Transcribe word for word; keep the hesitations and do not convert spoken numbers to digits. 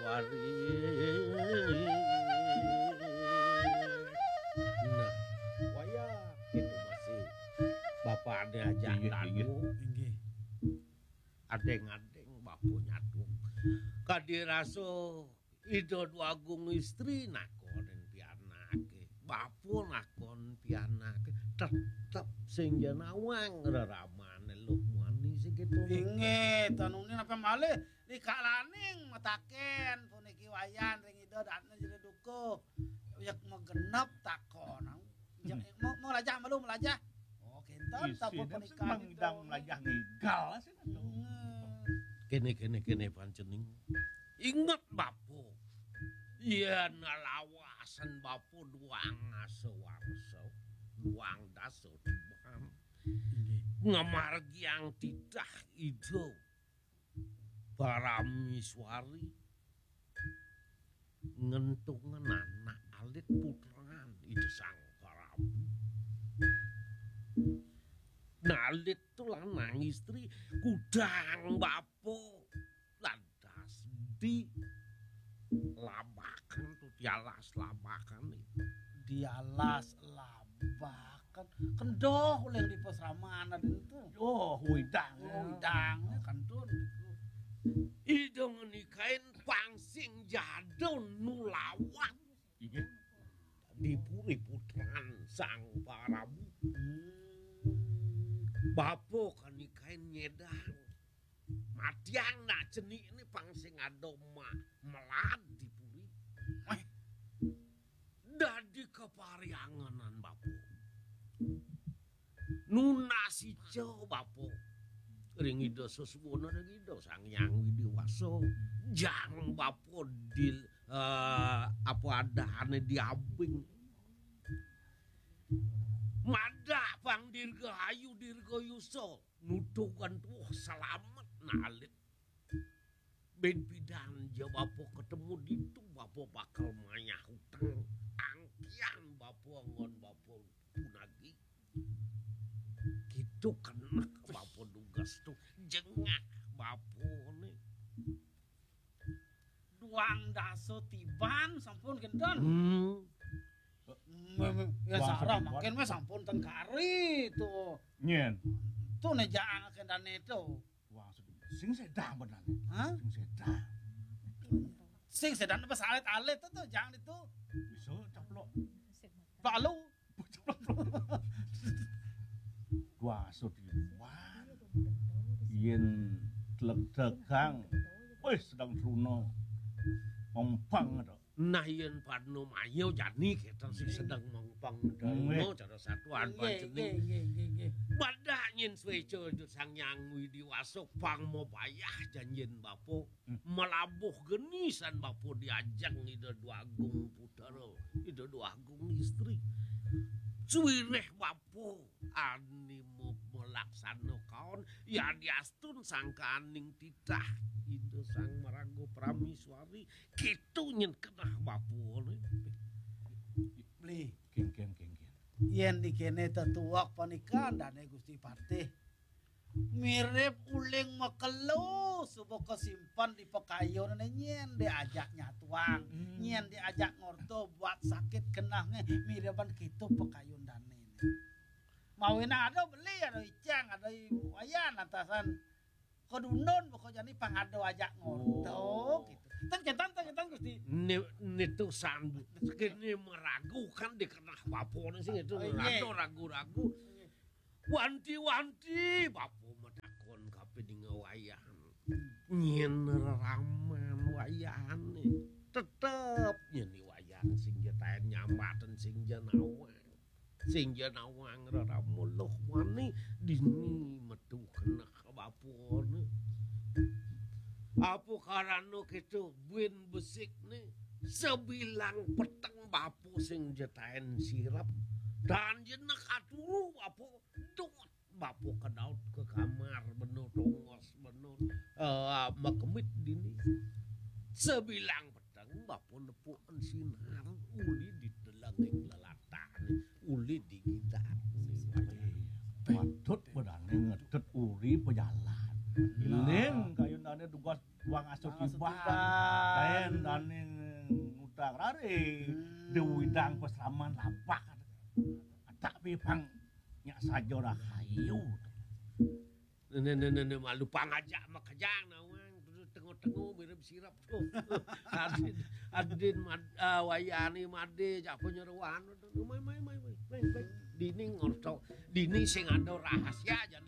Nah, wayah itu masih bapakné ajak Inggih, inggih. Inggih. Adéng-adéng bapa nyaduk. Kadi rasa Ida Dwagung Istri nakonin pianaké. Bapa nakon pianaké. Tetep sing ja nawang reramané Luh Muani sing kéto. Inggih, tanuné napa malih likalaning matakén puniki wayan ring Ida Dané Jero Dukuh. Yek magenep takon. Jeng, mau, mau lajah malu melajah. Oh, kinten. Isi, sampun punika ngidang melajah ngigal sih. Hmm. Kéné, kéné, kéné pancening. Inget bapa. Yén lawasan bapa duang asa warsa, duang dasa tiban. Inggih. Ngamargiang titah Ida Paramiswari ngentungan anak alit putran Ida Sang Prabu. Nalit tu lanang istri kudang bapa lantas di labakan tu di alas labakan. Di alas labakan. Kendhah oleh di pasraman ada itu. Oh, widang. Oh, widang. Kantun. Ida ngenikain pang sing jadon nulawat. Inggih. Di puri putran Sang Prabu. Hmm. Bapa kanikain nyedang. Matiang nak cenik ni pang sing ada ma-, melad di puri. Wah. Dadi kaparianganan bapa. Nunas ica bapa. Ring Ida Seswana ring Ida Sang Hyang Widi Wasa. Jang bapa di, eh, apa adané diabing. Madak pang dirgahayu dirgayusa. Nutukan tuh selamat nalit. Bén pidan ja bapa ketemu ditu, bapa bakal mayah utang. Angkian bapa anggon bapa punagi. Kitu kenek bapa dugas tu. Jengah bapa ni. Duang dasa tiban sampun kinten. Hmm. Ya, duang sarah tiban. Mangkin wis sampun tengkari tu. Nyén. Tu né jaang akan dané tu. Wah, sing sedang benar. Hah? Sing sedang. Sing sedang apa salit-alit tu, tu, jang itu. Bisa caplok. Lalu. Wah, sudi. Wah. Yén tleg-tlegang. Wis sedang truna. Mempang to. Nah, yén padna maya jani kita sing sedang mengpang dharma cara satuan pancening. Nggih, nggih, nggih, nggih. Badak nyén sweca Sang Hyang Widi Wasa pang mabayah janjin bapa. Hmm. Malabuh geni san bapa diajeng Ida Dwagung Putra, Ida Dwagung Istri. Suwireh bapa ani me-, melaksana kaon, yadiastun sangkaning titah Ida Sang Maraga Prameswari. Kitu nyén kenah bapa ni. Beli. Kéngkén, kéngkén. Yén di kéné tetuwak panika dané Gusti Patih. Mirip uling makelo suba kasimpen di pakayunané nyén diajak nyatuang, hmm, nyén diajak ngorta buat sakit kenahné miriban kitu pakayun dané. Mawinan ada beli, ada icang, ada i-, wayan atasan. Kodundun pokok jani pang ada ajak ngorta, oh, gitu. Ten ketan, ten ketan, Gusti. Ni, nitu sandu. Kene meragukan di kenah bapa ni sing itu. Oh, iya. Ada ragu-ragu. Wanti-wanti bapa matakon kapining wayan. Nyén reraman wayane. Tetep nyén wayan sing jetaen nyambaten sing jenawang. Sing ja nawang rerama Luh Muani dini metu keneh bapane. Apa karana kita buin besikne sebilang peteng bapa sing jetaen sirep. Dan jenek aturu bapa dot bapa kedaut ke kamar bena tongos bena, eh, makemit dini. Sebilang peteng bapa nepuken sinar uli di telenging lelatane, uli di gidane. Patut bedane ngedet uri pejalan. Nah. Iling kayunane dugas Wang asuh tiban. Kaen daning utang rare. Dewi dang peslaman lapak. Tapi pang nyak saja rahayu. Nene nene malu pangajak makejang nawang tengok-tengok mirip sirap tu. Adin adin mad, ah, wayani made jak penyeruan. Mai mai mai mai. Mai mai. Dini ngorto. Dini sing ada rahasia aja.